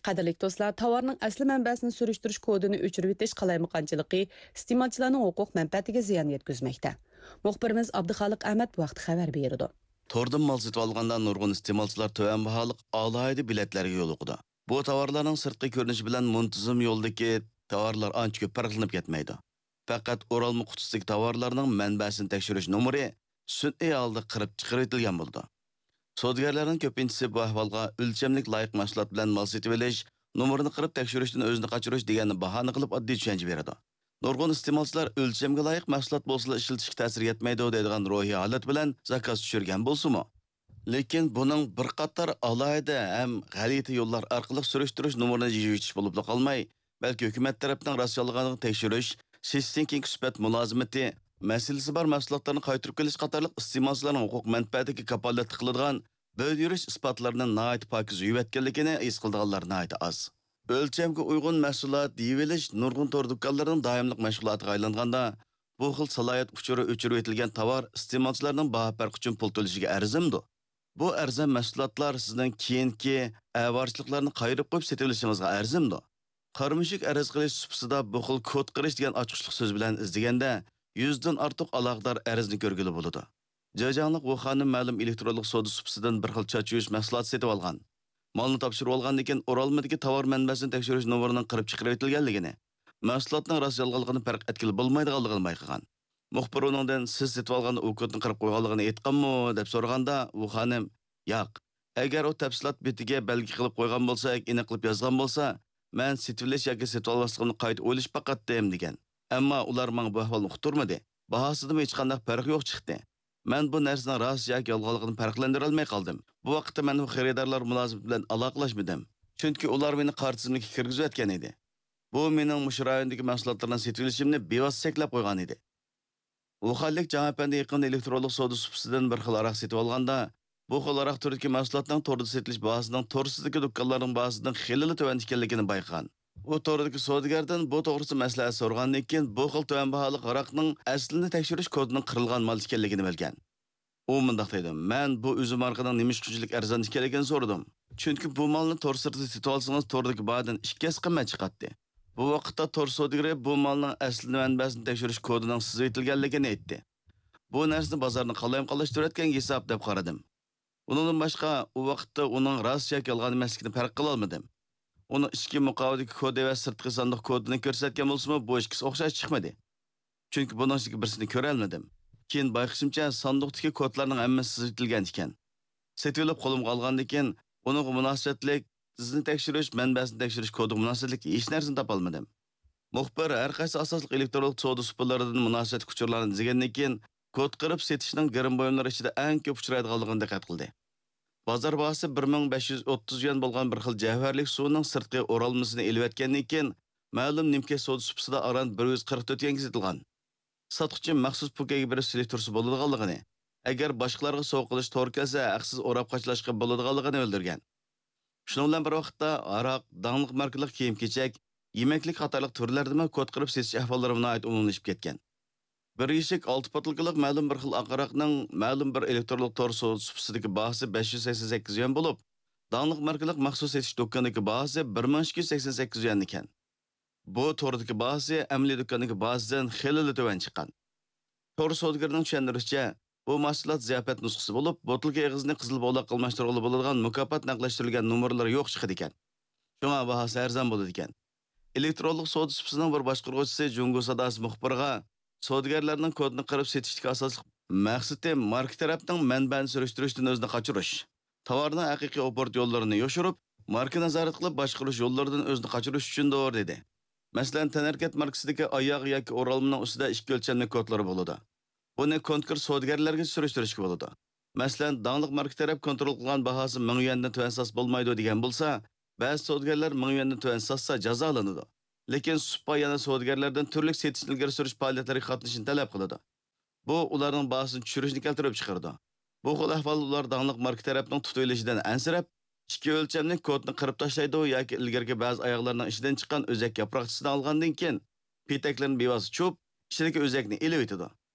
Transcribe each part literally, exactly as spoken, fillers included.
قەدىرلىك دوستلار، تاۋارنىڭ ئەسلى مەنبەسىنى سۈرۈشتۈرۈش كودىنى ئۆچۈرۈۋېتىش قالايمىقانچىلىقى ئىستېمالچىلارنىڭ ھوقۇق مەنپەئەتىگە زىيان يەتكۈزمەكتە. مۇخبىرىمىز ئابدۇخالىق ئەمەت بۇ ھەقتە خەۋەر بېرىدۇ. توردىن مال سېتىۋالغاندا نۇرغۇن ئىستېمالچىلار تۆۋەن باھالىق ئالاھىدە بېلەتلەرگە يولۇقىدۇ. بۇ تاۋارلارنىڭ سىرتقى كۆرۈنۈشى بىلەن مۇنتىزىم يولدىكى تاۋارلار ئانچە كۆپ پەرقلىنىپ كەتمەيدۇ. پەقەت ئورالما قۇتىسىدىكى تاۋارلارنىڭ مەنبەسىنى تەكشۈرۈش نومۇرى سۈنئىي ھالدا قىرىپ چىقىرىۋېتىلگەن بولىدۇ. سودىگەرلەرنىڭ كۆپىنچىسى بۇ ئەھۋالغا ئۆلچەملىك لايىق مەھسۇلات بىلەن مال سېتىۋېلىش، نومۇرنى قىرىپ تەكشۈرۈشتىن ئۆزىنى قاچۇرۇش دېگەننى باھانە قىلىپ ئاددىي چۈشەنچە بېرىدۇ. نۇرغۇن ئىستېمالچىلار ئۆلچەمگە لايىق مەھسۇلات بولسىلا ئىشلىتىشكە تەسىر يەتمەيدۇ دەيدىغان روھىي ھالەت بىلەن زاكاز چۈشۈرگەن بولسىمۇ، لېكىن بۇنىڭ بىر قاتار ئالاھىدە ھەم غەلىتە يوللار ئارقىلىق سۈرۈشتۈرۈش نومۇرىنى يېيىۋېتىش بولۇپلا قالماي، بەلكى ھۆكۈمەت تەرەپنىڭ راستچىللىقىنى تەكشۈرۈش، سېتىشتىن كېيىنكى سۈپەت مۇلازىمىتى، مەسىلىسى بار مەھسۇلاتلارنى قايتۇرۇپ كېلىش قاتارلىق ئىستېمالچىلارنىڭ ھوقۇق مەنپەئەتىگە كاپالەتلىك قىلىدىغان بۆلۈۋېرىش ئىسپاتلىرىنى ناھايىتى پاكىز يۇيۇۋەتكەنلىكىنى ھېس قىلىدىغانلار ناھايىتى ئاز. ئۆلچەمگە ئۇيغۇن مەھسۇلات يېيىۋېلىش نۇرغۇن تور دۇكانلىرىنىڭ دائىملىق مەشغۇلاتىغا ئايلانغاندا، بۇ خىل سالاھىيەت ئۇچۇرى ئۆچۈرۈۋېتىلگەن تاۋار ئىستېمالچىلارنىڭ باھا پەرقى ئۈچۈن پۇل تۆلىشىگە ئەرزىمدۇ؟ بۇ ئەرزان مەھسۇلاتلار سىزنىڭ كېيىنكى ئەۋارىچىلىقلارنى قايرىپ قويۇپ سېتىۋېلىشىڭىزغا ئەرزىمدۇ؟ قارا مۈشۈك ئەرز قىلىش سۇپىسىدا بۇ خىل كود قىرىش دېگەن ئاچقۇچلۇق سۆز بىلەن ئىزدىگەندە، يۈزدىن ئارتۇق ئالاقىدار ئەرزنى كۆرگىلى بولىدۇ. جېجاڭلىق ۋۇ خانىم مەلۇم ئېلېكترونلۇق سودا سۇپىسىدىن بىر خىل چاچ يۇيۇش مەھسۇلاتى سېتىۋالغان. مالنى تاپشۇرۇۋالغاندىن كېيىن، ئورالمىدىكى تاۋار مەنبەسىنى تەكشۈرۈش نومۇرىنىڭ قىرىپ چىقىرىۋېتىلگەنلىكىنى، مەھسۇلاتنىڭ راست-يالغانلىقىنى پەرق ئەتكىلى بولمايدىغانلىقىنى بايقىغان. مۇخبىر ئۇنىڭدىن، «سىز سېتىۋالغاندا ئۇ كودنى قىرىپ قويغانلىقىنى ئېيتقانمۇ؟» دەپ سورىغاندا، ۋۇ خانىم، «ياق، ئەگەر ئۇ تەپسىلات بېتىگە بەلگە قىلىپ قويغان بولسا ياكى ئېنىقلاپ يازغان بولسا، مەن سېتىۋېلىش ياكى سېتىۋالماسلىقىمنى قايتا ئويلىشىپ باقاتتىم» دېگەن. ئەمما ئۇلار ماڭا بۇ ئەھۋالنى ئۇقتۇرمىدى. باھاسىدىمۇ ھېچقانداق پەرق يوق چىقتى. مەن بۇ نەرسىنىڭ راست ياكى يالغانلىقىنى پەرقلەندۈرەلمەي قالدىم. بۇ ۋاقىتتا مەن بۇ خېرىدارلار مۇلازىمىتى بىلەن ئالاقىلەشمىدىم. چۈنكى ئۇلار مېنى قارا تىزىملىككە كىرگۈزۈۋەتكەن ئىدى. بۇ مېنىڭ مۇشۇ رايوندىكى مەھسۇلاتلارنى سېتىۋېلىشىمنى بىۋاسىتە چەكلەپ قويغان ئىدى. ۋۇخەنلىك جاڭ ئەپەندى يېقىندا ئېلېكترونلۇق سودا سۇپىسىدىن بىر خىل ھاراق سېتىۋالغاندا، بۇ خىل ھاراق تۈرىدىكى مەھسۇلاتنىڭ توردا سېتىلىش باھاسىنىڭ تورسىزدىكى دۇكانلارنىڭ باھاسىدىن خېلىلا تۆۋەن ئىكەنلىكىنى بايقىغان. ئۇ توردىكى سودىگەردىن بۇ توغرىسىدا مەسلىھەت سورىغاندىن كېيىن، بۇ خىل تۆۋەن باھالىق ھاراقنىڭ ئەسلىنى تەكشۈرۈش كودىنىڭ قىرىلغان مال ئىكەنلىكىنى بىلگەن. ئۇ مۇنداق دەيدۇ، «مەن بۇ ئۈزۈم ھارىقىنىڭ نېمىشقا شۇنچىلىك ئەرزان ئىكەنلىكىنى سورىدىم. چۈنكى بۇ مالنى تور سىرتىدا سېتىۋالسىڭىز، توردىكى باھادىن ئىككى ھەسسە قىممەت چىقاتتى. بۇ ۋاقىتتا تور سودىگىرى بۇ مالنىڭ ئەسلى مەنبەسىنى تەكشۈرۈش كودىنىڭ سىزىۋېتىلگەنلىكىنى ئېيتتى. بۇ نەرسىنى بازارنى قالايمىقانلاشتۇرۇۋەتكەنگە ھېساب دەپ قارىدىم. ئۇنىڭدىن باشقا، ئۇ ۋاقىتتا ئۇنىڭ راست ياكى يالغان ئەمەسلىكىنى پەرق قىلالمىدىم. ئۇنىڭ ئىچكى مۇقاۋىدىكى كودى ۋە سىرتقى ساندۇق كودىنى كۆرسەتكەن بولسىمۇ، بۇ ئىككىسى ئوخشاش چىقمىدى. چۈنكى بۇنىڭ ئىچىدىكى بىرسىنى كۆرەلمىدىم. كېيىن بايقىشىمچە، ساندۇقتىكى كودلارنىڭ ھەممىسى سىزىۋېتىلگەن ئىكەن. سېتىۋېلىپ قولۇمغا ئالغاندىن كېيىن، ئۇنىڭغا مۇناسىۋەتلىك ئىزنى تەكشۈرۈش، مەنبەسىنى تەكشۈرۈش كودىغا مۇناسىۋەتلىك ھېچ نەرسىنى تاپالمىدىم. مۇخبىر ھەر قايسى ئاساسلىق ئېلېكترونلۇق سودا سۇپىلىرىدىن مۇناسىۋەتلىك ئۇچۇرلارنى ئىزدىگەندىن كېيىن، كود قىرىپ سېتىشنىڭ گىرىم بۇيۇملىرى ئىچىدە ئەڭ كۆپ ئۇچرايدىغانلىقىنى دىققەت قىلدى. بازار باھاسى بىر مىڭ بەش يۈز ئوتتۇز يۈەن بولغان بىر خىل جەۋھەرلىك سۇنىڭ سىرتقى ئورالمىسىنى ئېلىۋەتكەندىن كېيىن، مەلۇم نىمكەش سودا سۇپىسىدا ئاران بىر يۈز قىرىق تۆت يۈەنگە سېتىلغان. ساتقۇچى مەخسۇس پوكەيگە بېرىپ سېلىشتۇرسا بولىدىغانلىقىنى، ئەگەر باشقىلارغا سوۋغا قىلىش تور كەلسە، ھەقسىز ئوراپ قاچىلاشقا بولىدىغانلىقىنى بىلدۈرگەن. شۇنىڭ بىلەن بىر ۋاقىتتا، ھاراق، داڭلىق ماركىلىق كىيىم-كېچەك، يېمەكلىك قاتارلىق تۈرلەردىمۇ كود قىرىپ سېتىش ئەھۋاللىرىمۇ ناھايىتى ئومۇملىشىپ كەتكەن. بىر يېشىك ئالتە پوتۇلكىلىق مەلۇم بىر خىل ئاق ھاراقنىڭ مەلۇم بىر ئېلېكترونلۇق تور سودا سۇپىسىدىكى باھاسى بەش يۈز سەكسەن سەككىز يۈەن بولۇپ، داڭلىق ماركىلىق مەخسۇس سېتىش دۇكىنىدىكى باھاسى بىر مىڭ ئىككى يۈز سەكسەن سەككىز يۈەن ئىكەن. بۇ توردىكى باھاسى ئەمەلىي دۇكاندىكى باھاسىدىن خېلىلا تۆۋەن چىققان. تور سودىگىرىنىڭ چۈشەندۈرۈشىچە، بۇ مەھسۇلات زىياپەت نۇسخىسى بولۇپ، بوتۇلكا ئېغىزىنى قىزىل بولاق ئالماشتۇرغىلى بولىدىغان مۇكاپات نەقىشلەشتۈرۈلگەن نومۇرلىرى يوق چىقىدىكەن. شۇڭا باھاسى ئەرزان بولىدىكەن. ئېلېكترونلۇق سودا سۇپىسىنىڭ بىر باشقۇرغۇچىسى جۇڭگو ساداسى مۇخبىرىغا، سودىگەرلەرنىڭ كودنى قىرىپ سېتىشتىكى ئاساسلىق مەقسىتى ماركا تەرەپنىڭ مەنبەنى سۈرۈشتۈرۈشتىن ئۆزىنى قاچۇرۇش، تاۋارنىڭ ھەقىقىي ئوبوروت يوللىرىنى يوشۇرۇپ، ماركا نازارەت قىلىپ باشقۇرۇش يوللىرىدىن ئۆزىنى قاچۇرۇش ئۈچۈندۇر، دېدى. مەسىلەن، تەنھەرىكەت ماركىسىدىكى ئاياغ ياكى ئورالمىنىڭ ئۈستىدە ئىككى ئۆلچەملىك كودلىرى بولىدۇ. بۇنى كونكرېت سودىگەرلەرگە سۈرۈشتۈرۈشكە بولىدۇ. مەسىلەن، داڭلىق ماركا تەرەپ كونترول قىلغان باھاسى مىڭ يۈەندىن تۆۋەن ساتسا بولمايدۇ دېگەن بولسا، بەزى سودىگەرلەر مىڭ يۈەندىن تۆۋەن ساتسا جازالىنىدۇ. لېكىن سۇپا يەنە سودىگەرلەردىن تۈرلۈك سېتىشنى ئىلگىرى سۈرۈش پائالىيەتلىرىگە قاتنىشىشنى تەلەپ قىلىدۇ. بۇ ئۇلارنىڭ باھاسىنى چۈشۈرۈشنى كەلتۈرۈپ چىقىرىدۇ. بۇ خىل ئەھۋال ئۇلار داڭلىق ماركا تەرەپنىڭ تۇتۇۋېلىشىدىن ئەنسىرەپ، ئىككى ئۆلچەملىك كودنى قىرىپ تاشلايدۇ ياكى ئىلگىرىكى بەزى ئاياغلارنىڭ ئىچىدىن چىققان ئۆزەك ياپراقچىسىنى ئالغاندىن كېيىن، پېتەكلىرىنى بىۋاسىتە چۇۋۇپ، ئىچىدىكى ئۆزەكنى ئېلىۋېتىدۇ.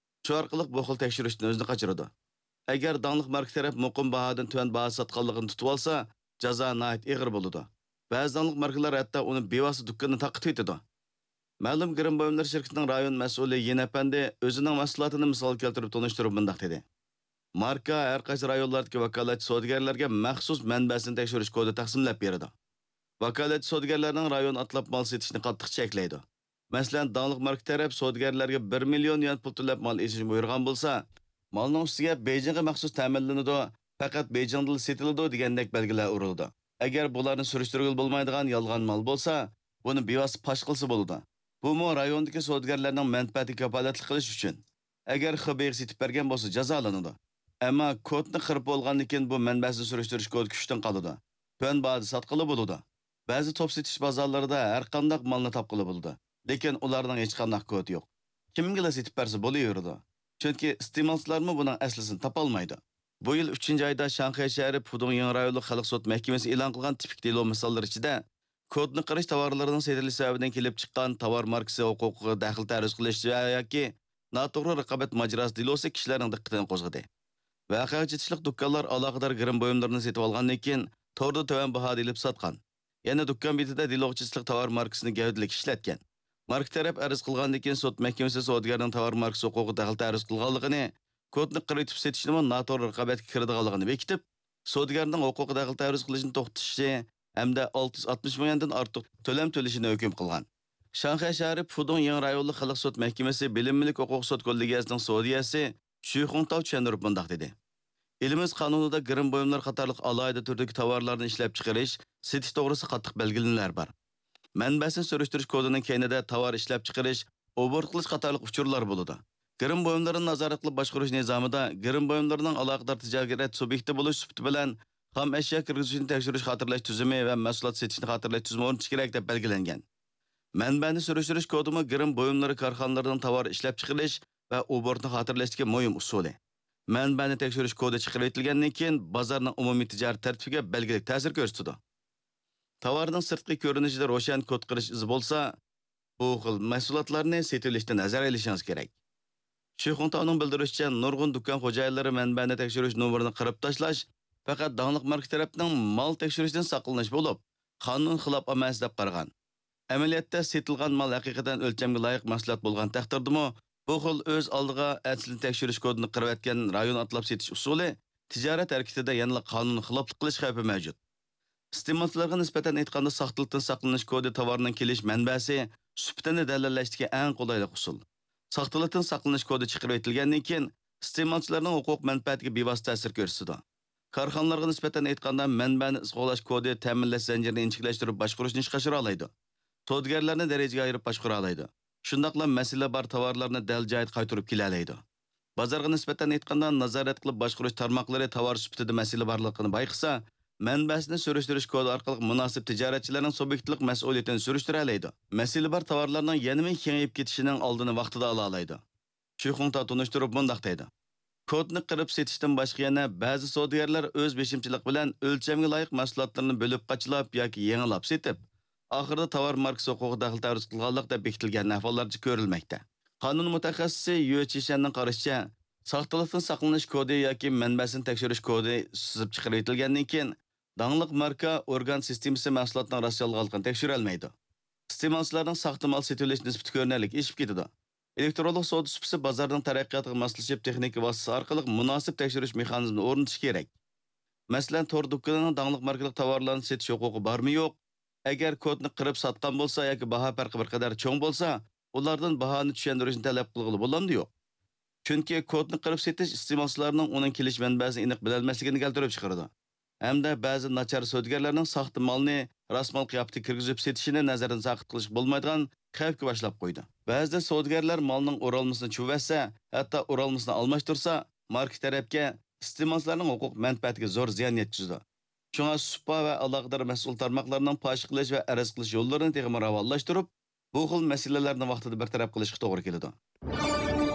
شۇ ئارقىلىق بۇ خىل تەكشۈرۈشتىن ئۆزىنى قاچۇرىدۇ. ئەگەر داڭلىق ماركا تەرەپ مۇقىم باھادىن تۆۋەن باھا ساتقانلىقىنى تۇتۇۋالسا، جازا ناھايىتى ئېغىر بولىدۇ. بەزى داڭلىق ماركىلار ھەتتا ئۇنى بىۋاسىتە دۇكىنىدا تارقىتىۋېتىدۇ. مەلۇم گىرىم بۇيۇملىرى شىركىتىنىڭ رايون مەسئۇلى يىن ئەپەندى ئۆزىنىڭ مەھسۇلاتىنى مىسال كەلتۈرۈپ تونۇشتۇرۇپ مۇنداق دېدى: ماركا ھەر قايسى رايونلاردىكى ۋاكالەتچى سودىگەرلەرگە مەخسۇس مەنبەسىنى تەكشۈرۈش كودى تەقسىملەپ بېرىدۇ. ۋاكالەتچى سودىگەرلەرنىڭ رايون ئاتلاپ مال سېتىشنى قاتتىق چەكلەيدۇ. مەسىلەن، داڭلىق ماركا تەرەپ سودىگەرلەرگە بىر مىليون يۈەن پۇل تۆلەپ مال ئېلىشنى بۇيرۇغان بولسا، مالنىڭ ئۈستىگە بېيجىڭغا مەخسۇس تەمىنلىنىدۇ، پەقەت بېيجىڭدىلا سېتىلىدۇ دېگەندەك بەلگىلەر ئۇرۇلىدۇ. ئەگەر بۇلارنى سۈرۈشتۈرگىلى بولمايدىغان يالغان مال بولسا، بۇنى بىۋاسىتە پاش قىلسا بولىدۇ. بۇمۇ رايوندىكى سودىگەرلەرنىڭ مەنپەئەتىگە كاپالەتلىك قىلىش ئۈچۈن. ئەگەر خېبېيغا سېتىپ بەرگەن بولسا جازالىنىدۇ. ئەمما كودنى قىرىپ بولغاندىن كېيىن بۇ مەنبەسىنى سۈرۈشتۈرۈش كودى كۈچتىن قالىدۇ. تۆۋەن باھادا ساتقىلى بولىدۇ. بەزى توپ سېتىش بازارلىرىدا ھەرقانداق مالنى تاپقىلى بولىدۇ. لېكىن ئۇلارنىڭ ھېچقانداق كودى يوق. كىمگىلا سېتىپ بەرسە بولۇۋېرىدۇ. چۈنكى ئىستېمالچىلارمۇ بۇنىڭ ئەسلىسىنى تاپالمايدۇ. بۇ يىل ئۈچىنچى ئايدا شاڭخەي شەھىرى پۇدۇڭيىڭ رايونلۇق خەلق سوت مەھكىمىسى ئېلان قىلغان تىپىك دېلو مىساللىرى ئىچىدە، كودنى قىرىش تاۋارلىرىنىڭ سېتىلىش سەۋەبىدىن كېلىپ چىققان تاۋار ماركىسى ھوقۇقىغا دەخلى تەرۇز قىلىش ۋە ياكى ناتوغرا رىقابەت ماجىراسى دېلوسى كىشىلەرنىڭ دىققىتىنى قوزغىدى. ۋەقەگە چېتىشلىق دۇكانلار ئالاقىدار گىرىم بۇيۇملىرىنى سېتىۋالغاندىن كېيىن، توردا تۆۋەن باھادا ئېلىپ ساتقان. يەنە دۇكان بېتىدە دېلوغا چېتىشلىق تاۋار ماركىسىنى گەۋدىلىك ئىشلەتكەن. ماركا تەرەپ ئەرز قىلغاندىن كېيىن، سوت مەھكىمىسى سودىگەرنىڭ تاۋار ماركىسى ھوقۇقىغا دەخلى تەرۇز قىلغانلىقىنى، كودنى قىرىۋېتىپ سېتىشنىمۇ ناتوغرا رىقابەتكە كىرىدىغانلىقىنى بېكىتىپ، سودىگەرنىڭ ھوقۇقىغا دەخلى تەرۇز قىلىشنى توختىتىشى ھەمدە ئالتە يۈز ئاتمىش مىڭ يۈەندىن ئارتۇق تۆلەم تۆلىشىنى ھۆكۈم قىلغان. شاڭخەي شەھىرى پۇدۇڭيىڭ رايونلۇق خەلق سوت مەھكىمىسى بىلىملىك ھوقۇق سوت كوللېگىيەسىنىڭ سودىيەسى شۈي خۇڭتاۋ چۈشەندۈرۈپ مۇنداق دېدى: ئېلىمىز قانۇنىدا گىرىم بۇيۇملىرى قاتارلىق ئالاھىدە تۈردىكى تاۋارلارنى ئىشلەپچىقىرىش، سېتىش توغرىسىدا قاتتىق بەلگىلىمىلەر بار. مەنبەسىنى سۈرۈشتۈرۈش كودىنىڭ كەينىدە تاۋار ئىشلەپچىقىرىش، ئوبوروت قىلىش قاتارلىق ئۇچۇرلار بولىدۇ. گىرىم بۇيۇملىرىنى نازارەت قىلىپ باشقۇرۇش نىزامىدا گىرىم بۇيۇملىرىنىڭ ئالاقىدار تىجارەت سۇبيېكتى بولۇش سۈپىتى بىلەن خام ئەشيا كىرگۈزۈشنى تەكشۈرۈش خاتىرىلەش تۈزۈمى ۋە مەھسۇلات سېتىشنى خاتىرىلەش تۈزۈمى ئورنىتىش كېرەك دەپ بەلگىلەنگەن. مەنبەنى سۈرۈشتۈرۈش كودىمۇ گىرىم بۇيۇملىرى كارخانىلىرىنىڭ تاۋار ئىشلەپچىقىرىش ۋە ئوبوروتنى خاتىرىلەشتىكى مۇھىم ئۇسۇلى. مەنبەنى تەكشۈرۈش كودى چىقىرىۋېتىلگەندىن كېيىن، بازارنىڭ ئومۇمىي تىجارەت تەرتىپىگە بەلگىلىك تەسىر كۆرسىتىدۇ. تاۋارنىڭ سىرتقى كۆرۈنۈشىدە روشەن كود قىرىش ئىزى بولسا، بۇ خىل مەھسۇلاتلارنى سېتىۋېلىشتىن ھەزەر ئېلىشىڭىز كېرەك. شۈي خۇڭتاۋنىڭ بىلدۈرۈشىچە، نۇرغۇن دۇكان خوجايىنلىرى مەنبەنى تەكشۈرۈش نومۇرىنى قىرىپ تاشلاش پەقەت داڭلىق ماركا تەرەپنىڭ مال تەكشۈرۈشتىن ساقلىنىش بولۇپ، قانۇن خىلاپ ئەمەس دەپ قارىغان. ئەمەلىيەتتە سېتىلغان مال ھەقىقەتەن ئۆلچەمگە لايىق مەھسۇلات بولغان تەقدىردىمۇ، بۇ خىل ئۆز ئالدىغا ئەسلىنى تەكشۈرۈش كودىنى قىرىۋەتكەن رايون ئاتلاپ سېتىش ئۇسۇلى تىجارەت ھەرىكىتىدە يەنىلا قانۇن خىلاپلىق قىلىش خەۋپى مەۋجۇت. ئىستېمالچىلارغا نىسبەتەن ئېيتقاندا، ساختىلىقتىن ساقلىنىش كودى تاۋارنىڭ كېلىش مەنبەسى، سۈپىتىنى دەلىللەشتىكى ئەڭ قولايلىق ئۇسۇل. ساختىلىقتىن ساقلىنىش كودى چىقىرىۋېتىلگەندىن كېيىن، ئىستېمالچىلارنىڭ ھوقۇق مەنپەئەتىگە بىۋاسىتە تەسىر كۆرسىتىدۇ. كارخانىلارغا نىسبەتەن ئېيتقاندا، مەنبەنى ئىزغا قوغلاش كودى تەمىنلەش زەنجىرىنى ئىنچىكىلەشتۈرۈپ باشقۇرۇشنى ئىشقا ئاشۇرالايدۇ. سودىگەرلەرنى دەرىجىگە ئايرىپ باشقۇرالايدۇ. شۇنداقلا مەسىلە بار تاۋارلارنى دەل جايىدا قايتۇرۇپ كېلەلەيدۇ. بازارغا نىسبەتەن ئېيتقاندا، نازارەت قىلىپ باشقۇرۇش تارماقلىرى تاۋار سۈپىتىدە مەسىلە بارلىقىنى بايقىسا، مەنبەسىنى سۈرۈشتۈرۈش كودى ئارقىلىق مۇناسىپ تىجارەتچىلەرنىڭ سۇبيېكتلىق مەسئۇلىيىتىنى سۈرۈشتۈرەلەيدۇ. مەسىلە بار تاۋارلارنىڭ يەنىمۇ كېڭىيىپ كېتىشىنىڭ ئالدىنى ۋاقتىدا ئالالايدۇ. شۈي خۇڭتاۋ تونۇشتۇرۇپ مۇنداق دەيدۇ: كودنى قىرىپ سېتىشتىن باشقا يەنە بەزى سودىگەرلەر ئۆز بېشىمچىلىقى بىلەن ئۆلچەمگە لايىق مەھسۇلاتلىرىنى بۆلۈپ قاچىلاپ ياكى يېڭىلاپ سېتىپ، ئاخىرىدا تاۋار ماركىسى ھوقۇقىغا دەخلى تەرۇز قىلغانلىق دەپ بېكىتىلگەن ئەھۋاللارچە كۆرۈلمەكتە. قانۇن مۇتەخەسسىسى يۈ چىشەننىڭ قارىشىچە، ساختىلىقتىن ساقلىنىش كودى ياكى مەنبەسىنى تەكشۈرۈش كودى سىزىپ چىقىرىۋېتىلگەندىن كېيىن، داڭلىق ماركا ئورگان سىستېمىسى مەھسۇلاتنىڭ راستچىللىقىنى تەكشۈرەلمەيدۇ. ئىستېمالچىلارنىڭ ساختا مال سېتىۋېلىش نىسبىتى كۆرۈنەرلىك ئېشىپ كېتىدۇ. ئېلېكترونلۇق سودا سۇپىسى بازارنىڭ تەرەققىياتىغا ماسلىشىپ، تېخنىكا ۋاسىتىسى ئارقىلىق مۇناسىپ تەكشۈرۈش مېخانىزمىنى ئورنىتىشى كېرەك. مەسىلەن، تور دۇكىنىنىڭ داڭلىق ماركىلىق تاۋارلارنى سېتىش ھوقۇقى بارمۇ يوق؟ ئەگەر كودنى قىرىپ ساتقان بولسا ياكى باھا پەرقى بىر قەدەر چوڭ بولسا، ئۇلاردىن باھانى چۈشەندۈرۈشنى تەلەپ قىلغىلى بولامدۇ يوق؟ چۈنكى كودنى قىرىپ سېتىش ئىستېمالچىلارنىڭ ئۇنىڭ كېلىش مەنبەسىنى ئېنىق بىلەلمەسلىكىنى كەلتۈرۈپ چىقىرىدۇ. ھەمدە بەزى ناچار سودىگەرلەرنىڭ ساختا مالنى راست مال قىياپىتىگە كىرگۈزۈپ سېتىشىنى نەزەردىن ساقىت قىلىشقا بولمايدىغان خەۋپكە باشلاپ قويدى. بەزىدە سودىگەرلەر مالنىڭ ئورالمىسىنى چۇۋەتسە، ھەتتا ئورالمىسىنى ئالماشتۇرسا، ماركا تەرەپكە ئىستېمالچىلارنىڭ ھوقۇق مەنپەئەتىگە زور زىيان يەتكۈزىدۇ. شۇڭا سۇپا ۋە ئالاقىدار مەسئۇل تارماقلارنىڭ پاش قىلىش ۋە ئەرز قىلىش يوللىرىنى تېخىمۇ راۋانلاشتۇرۇپ، بۇ خىل مەسىلىلەرنى ۋاقتىدا بىر تەرەپ قىلىشقا توغرا كېلىدۇ.